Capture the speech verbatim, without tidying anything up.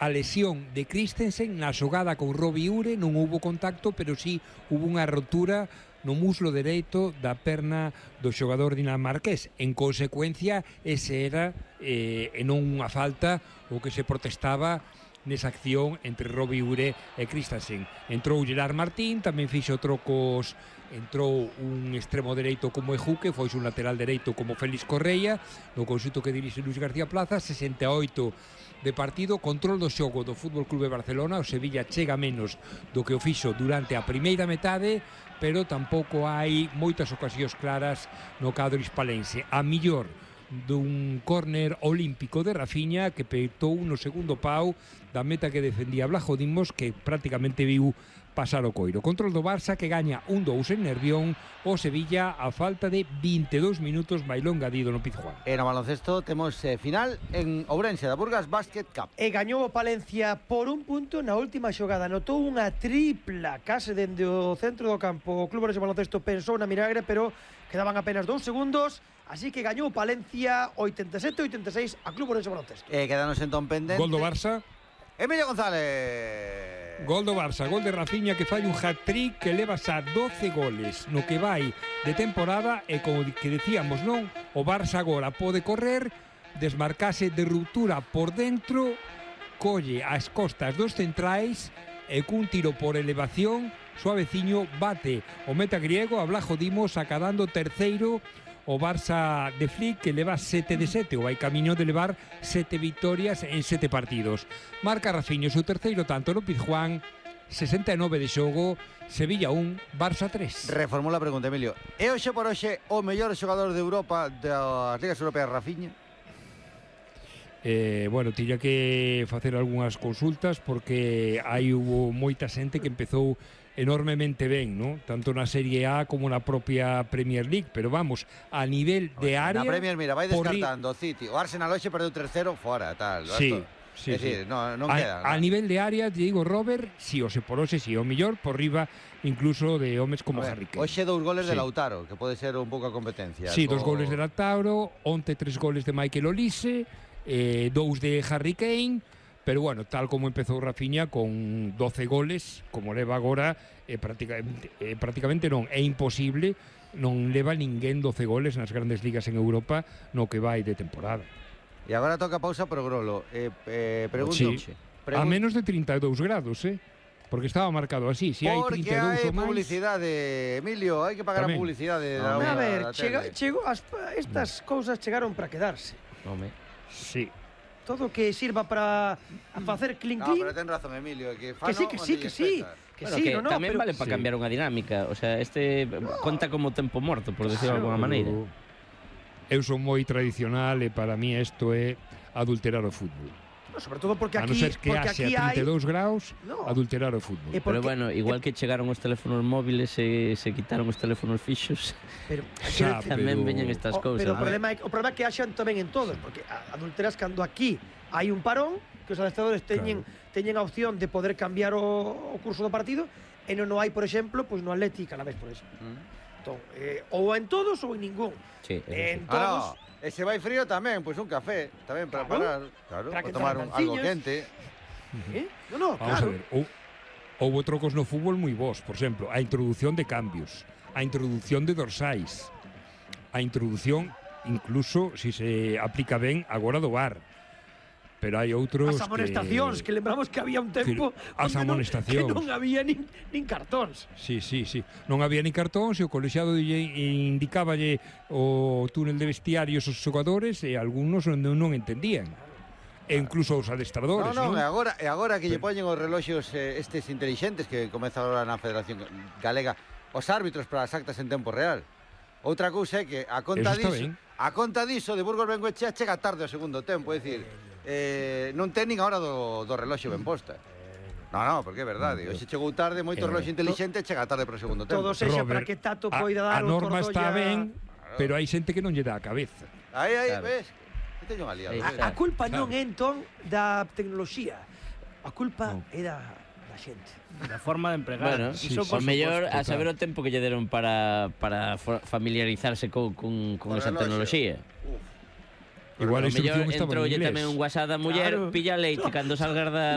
a lesión de Christensen na xogada con Robbie Ure, non houbo contacto, pero sí hubo unha rotura no muslo dereito da perna do xogador dinamarqués. En consecuencia, ese era eh, e non unha falta o que se protestaba nesa acción entre Robbie Ure e Christensen. Entrou Gerard Martín, tamén fixo trocos, entrou un extremo dereito como Ejuque, foi un lateral dereito como Félix Correia, no conxunto que dirixe Luis García Plaza. Sesenta e oito de partido, control do xogo do Fútbol Club de Barcelona. O Sevilla chega menos do que o fixo durante a primeira metade, pero tampouco hai moitas ocasións claras no cadro hispalense. A millor dun córner olímpico de Rafinha que peitou no segundo pau da meta que defendía Blajo Dimos, que prácticamente viu pasar o coiro. Control do Barça que gaña un dous en Nervión. O Sevilla a falta de vinte e dous minutos bailou engadido no Pizjuán. E no baloncesto temos eh, final en Ourense da Burgas Basket Cup. E gañou o Palencia por un punto na última xogada. Anotou unha tripla case dende o centro do campo. O Club Ourense Baloncesto pensou na milagre, pero quedaban apenas dous segundos. Así que gañou Palencia oitenta e sete a oitenta e seis a Club Ourense Baloncesto. E quedanos entón pendente. Gol do Barça. Emilio González. Gol do Barça, gol de Rafinha que fai un hat-trick que leva xa doce goles no que vai de temporada. E como que decíamos, non, o Barça agora pode correr, desmarcase de ruptura por dentro, colle as costas dos centrais e cun tiro por elevación suaveciño bate o meta griego a Blajo Dimos, acadando terceiro o Barça de Flick, que leva sete de sete, o vai camiño de levar sete victorias en sete partidos. Marca Rafinha o seu terceiro tanto no Pizjuán. Sesenta e nove de xogo, Sevilla un, Barça tres. Reformulo a pregunta, Emilio. É hoxe por hoxe o mellor xogador de Europa das ligas europeas, Rafinha? Eh, bueno, tiña que facer algunhas consultas porque hai hubo moita xente que empezou enormemente ben, ¿no? Tanto na Serie A como na propia Premier League, pero vamos, a nivel de área... Na Premier, mira, vai descartando o City. O Arsenal hoxe perdeu tres cero fora, tal. Sí, sí, é dicir, sí. non, non a, queda. A ¿no? nivel de área, digo, Robert, si, o se por hoxe, si, o millor, por riba incluso de homes como Harry Kane. Hoxe dous goles sí. de Lautaro, que pode ser un pouco a competencia. Sí, co... dos goles de Lautaro, onte tres goles de Michael Olise, eh, dous de Harry Kane. Pero bueno, tal como empezou Rafinha con doce goles, como leva agora, eh, prácticamente, eh, prácticamente non, é imposible, non leva ninguén doce goles nas grandes ligas en Europa no que vai de temporada. E agora toca pausa pro Grolo. Eh, eh, pregunto, sí. Pregun... A menos de trinta e dous grados, eh? Porque estaba marcado así, si hai trinta e dous ou máis... Porque hai publicidade, Emilio, hai que pagar Tamén. a publicidade. No, da, a ver, chega, chego, as, estas cousas chegaron para quedarse. Home, sí. Todo que sirva para facer clink clink. No, pero ten razón, Emilio, que que sí, que sí, que sí. Que bueno, sí, que no, no, tamén pero... vale para sí. cambiar unha dinámica, o sea, este no. conta como tempo morto, por decirlo de alguna maneira. Eu son moi tradicional e para mí isto é adulterar o fútbol. No, sobre todo porque aquí, a non ser que haxe a trinta e dous graus, no. adulterar o fútbol. Porque, pero bueno, igual que chegaron os teléfonos móviles e se quitaron os teléfonos fixos, pero xa, tamén pero... veñen estas o, cousas. Pero o problema, é, o problema é que haxan tamén en todos, porque adulteras cando aquí hai un parón, que os adestradores teñen, claro. teñen a opción de poder cambiar o, o curso do partido, e non hai, por exemplo, pois no Atlético a la vez, por exemplo. Mm. Entón, eh, ou en todos ou en ningún. Sí, en sí. todos... Ah, no. E se vai frío tamén, pois un café, tamén para claro, parar, claro, para tomar un, algo quente. ¿Eh? No, no, Vamos claro. a ver, ou, houve trocos no fútbol moi bons, por exemplo, a introdución de cambios, a introdución de dorsais, a introdución, incluso, se si se aplica ben, agora do V A R. Pero hai outros as amonestacións, que, que lembramos que había un tempo as amonestacións que non había nin, nin cartóns. Sí, sí, sí. Non había nin cartóns e o colexiado indicáballe o túnel de vestiarios aos xogadores e algúns non, non entendían. E incluso os adestradores, non? Non, non? e agora, e agora que lle poñen os reloxos eh, estes intelixentes que comeza agora na Federación Galega, os árbitros para as actas en tempo real. Outra cousa é que a conta diso, a conta diso de Burgos Bengoechea chega tarde ao segundo tempo, é dicir, eh, non ten nin a hora do, do reloxo ben posta. No, no, porque é verdade. Hoxe chegou tarde, moito reloxo intelixente chega tarde para o segundo tempo. Todo sexa para que Tato poida dar a norma está ben, pero hai xente que non lle dá a cabeza. Aí, aí, ves? Que teño un aliado. A, a culpa non é entón da tecnoloxía. A culpa é da da xente. Da forma de empregar. Bueno, sí, o mellor a saber o tempo que lle deron para para familiarizarse con con con esa tecnoloxía. Igual a instrucción estaba en inglés. Entrou tamén un WhatsApp da muller, claro. Pilla leite cando salgas da